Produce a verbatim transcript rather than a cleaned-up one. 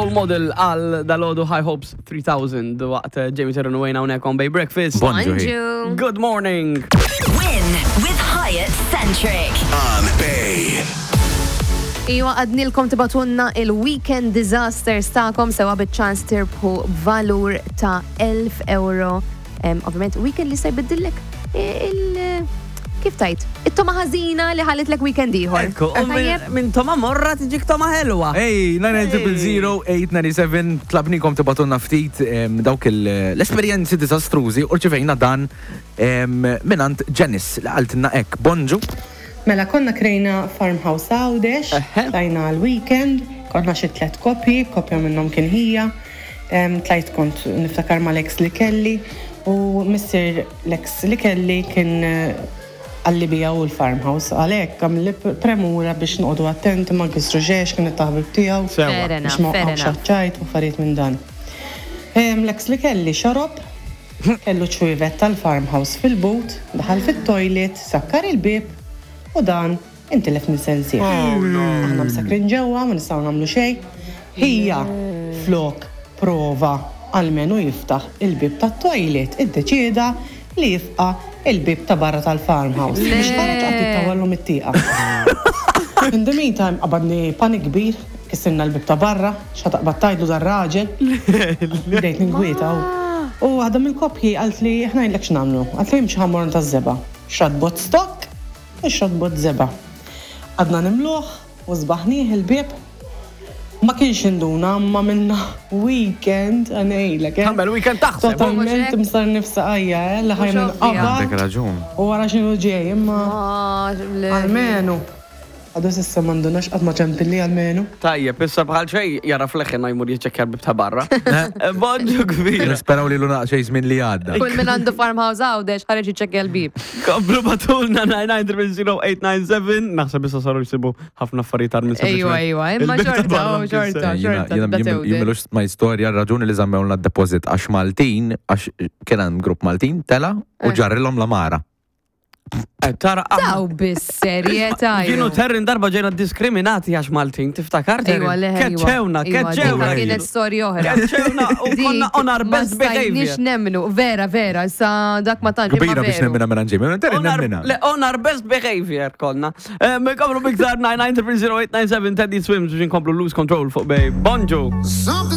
Role Model għal dalgħodu High Hopes three thousand waqt eh, Jamie Terran u Wayne hawnhekk on Bay Breakfast. Bonġu. Bonġu. Good morning. Win with Hyatt Centric. On Bay. Iwa, għednielkom tibagħtulna il-weekend disasters tagħkom sewa bit-ċans tirbħu valur ta' elf euro. Em, Ovvijament, weekend li se jbiddillek il- Kif tajt? It-togħma ħażina li ħallitlek weekend ieħor. Ekku, u minn Tajjeb? min togħma morra tiġik togħma ħelwa. Ej, nine zero zero eight nine seven, tlabnikom tibagħtulna ftit em, dawk il- l-esperjenzi disastrużi u rċivejna dan em, mingħand Janice li qaltilna hekk: "Bonġu." Mela, konna krejna farmhouse Għawdex, Eħe. tlajna għal-weekend, konna xi tlet koppji, koppja minnhom kien ħija, em, tlajt kont niftakar mal-ex li kelli u missier l-ex li kelli kien eh, qalli bija u l-farmhouse, għalhekk għamilli premura biex noqogħdu attenti ma nkissru xejn, kien it-taħbib tiegħu. Fair enough, Biex ma fair waqgħux enough. ċajt u affarijiet minn dan. Em, L-ex li kelli xarob, kellu ċwievet tal-farmhouse fil-but, daħal fit-toilet, sakkar il-bib u dan intilef minn sensi. Aħna msakrin ġewwa, ma nistgħu nagħmlu xejn. Ħija flok prova almenu jiftaħ il-bib tat-toilet, iddeċieda li jifqa il-bib ta' barra tal-farmhouse. Biex ħareġ għad jittawallu mit-tieqa. In the meantime, qabadni panik kbir, kissirna l-bib ta' barra, x'ħa taqbad tgħidlu dar-raġel. Bdejt ningwieta. U waħda mill-koppji qalt li ħa ngħidlek x'nagħmlu. Qalt li mxi ħa mmorru taż-żebgħa. Xtrat bott stock u xtrat bott żebgħa. Għadna nimluħ u żbaħnieh il-bib. Ma kienx induna, ma minna weekend għanejlek, eh. Għamel weekend taħseb. Totalment Mhux hekk? msar nifsa għajja, eh, li ħaj minn Mhux ovvja. Għandek qabad raġun. u wara x'inhu ġej, imma Ah, le. almenu. Għadu s'issa m'indunax, qatt ma ċempilli almenu. Tajjeb, issa bħal xej jara fleħin jmur jiċċekkja l-bib ta' barra. Bonġu kbira. Nisperaw li l-unaq xej żmien li għadda. Kull min għandu farmhouse Għawdex ħareġ jiċċekkja l-bib. Komplu ibagħtulna nine nine zero zero eight nine seven. Naħseb issa saru jsibu ħafna affarijiet minn Ejwa, ejwa, imma xorta, oh, xorta, xorta, tibda tewden. Jimilux ma istorja raġuni li żammewlna d-deposit għax Maltin, għax kien hemm grupp Maltin tela u Eh. ġarrilhom l-għamara. Tara, Taw bis-serjetà. Kienu terrin darba ġejna diskriminati għax Maltin, tiftakar, Terrin? Ejwa, le, ejwa. Keċċewna, Ejwa, keċċewna. dik kienet storja oħra. Keċċewna u konna on our best Ma stajniex behavior. nemmnu, vera, vera, sa dak ma tantx. imma Kbira biex veru. nemmina minn Jamie, terrin On our, nemmina. le, on our best behavior konna. Nkomplu biktar nine nine zero zero eight nine seven, Teddy Swims, biex nkomplu Lose Control fuq Bay. Bonġu.